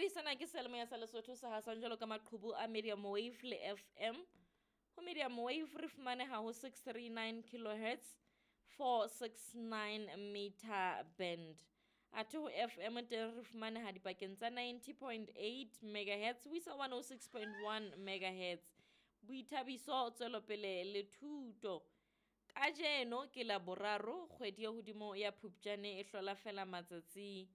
Mamedi, sena ke seyalemoya sa Lesotho se hasang jwalo ka maqhubu a medium wave le FM. Ho medium wave re fumaneha ho 639 kilohertz 469 meter band. Athe ho FM teng re fumaneha dipakeng tsa 90.8 megahertz ho isa 106.1 megahertz. Boithabiso, tswelopele le thuto. Kajeno ke Laboraro, kgwedi e hodimo ya Phupjane e hlola fela matsatsi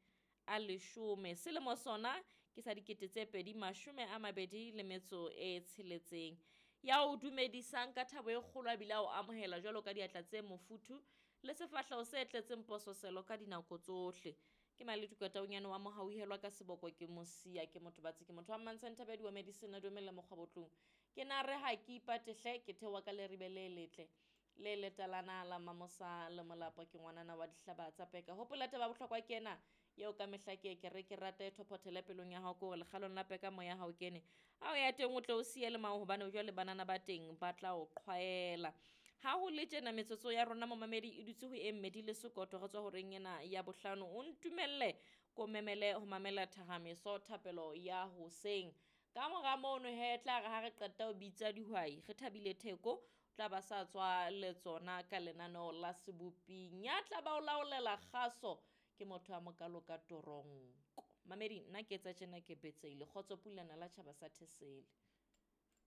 a leshome. Selemo sona ke sa 2026. Ya o dumedisang ka thabo e kgolo a bile a o amohela jwalo ka diatla tse mofuthu le sefahleho se tletseng pososelo ka dinako tsohle. Ke Maletuka Taunyane wa mohauhelwa ka seboko ke mosia ke motho batsi ke motho wa Mmantsha Thabedi wa Medicine dumella mokgwabotlong. Ke na re ha ke ipate hle ke theoha ka leribe le letle. Le letalana la Mamosa le Molapo ke ngwanana wa dihlaba tsa peka. Hopola taba bohlokwa ke ena eo ka mehla ke ke re ke rata e thophothele pelong ya hao ke hore lekgalong la peka moya ha o kene. Ha o ya teng o tle o siye le mang hobane jwale banana ba teng ba tla o qhwaela. Ha ho le tjena metsotso ya rona momamedi e dutse ho e mmedi le sekoto re tswa horeng ena ya bohlano. O ntumelle ko memele ho mamela thahameso thapelo ya hoseng. Ka mora mono he tla re ha re qeta ho bitsa dihwai re thabile theko tla ba sa tswa le tsona ka lenaneo la seboping. Ya tla ba o laolela kgaso ke motho a mokalo ka toronko. Mamedi nna ke etsa tjena ke betsehile. Kgotso pulana la tjhaba sa Thesele.